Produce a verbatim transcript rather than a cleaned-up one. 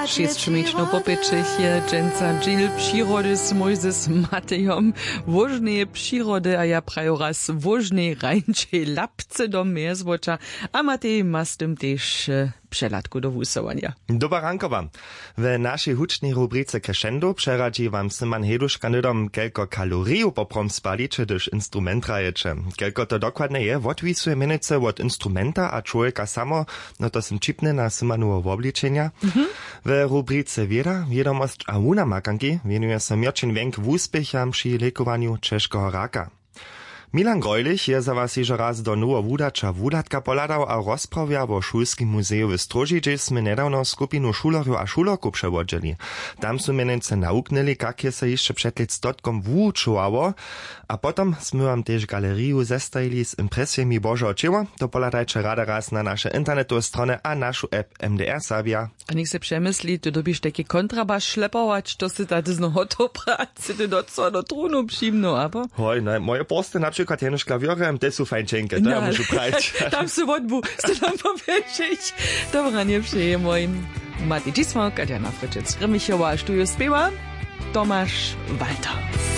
Šěsć měćno po pěćich je dźensa dźil přirody z mójzys matejom, wóžneje přirody a ja praju raz wóžnej rańčej lapce do mjezwoća. A matej ma z tym tež přehladku do wusyłanja. Doba rankowa. W našej hučnej rubrice crescendo přeradźi wam syman heduška hnydom kelko kaloriju poprom spaliće hdyž instrument hrajeće. Kelko to dokładnje je wotwisuje mjenujcy wot instrumenta a čłowjeka samo. No to sym ćipny na symanoweho wobličenja. W rubrice wěda wědomosć a wunamakanki wěnuje so měrćin wjenk wuspěcham při lěkowanju ćežkeho raka. Milan grojlich je za was hižo raz do noweho wudaća wuhladka pohladał a rozprawja wo šulskim muzeju w stróži hdźež smy njedawno skupinu šulerjow a šulerkow přewodźeli. Tam su mjenujcy nawuknyli kak je so hišće před lětstotkom wuwučowało. A potom smy wam tež galeriju zestajili z impresijemi božeho ćěła. To pohladajće rady raz na naše internetowe strony a našu app. M D R serbja. A něk se přemysli ty dyrbiš tajki kontrabaš šlepować to sy ta dyzno hotow prać sy ty do co do trunu přimnu abo? Hoj, no moje porsty na přikład jenož klawěrem te su fajn ćenke to ja móžu prać. Tam sy wotbu sy tam pobježić. Dobra njepřeje mojim mati dźismo kadjana fryčec grimichowa a štujo spěwa tomaš walter.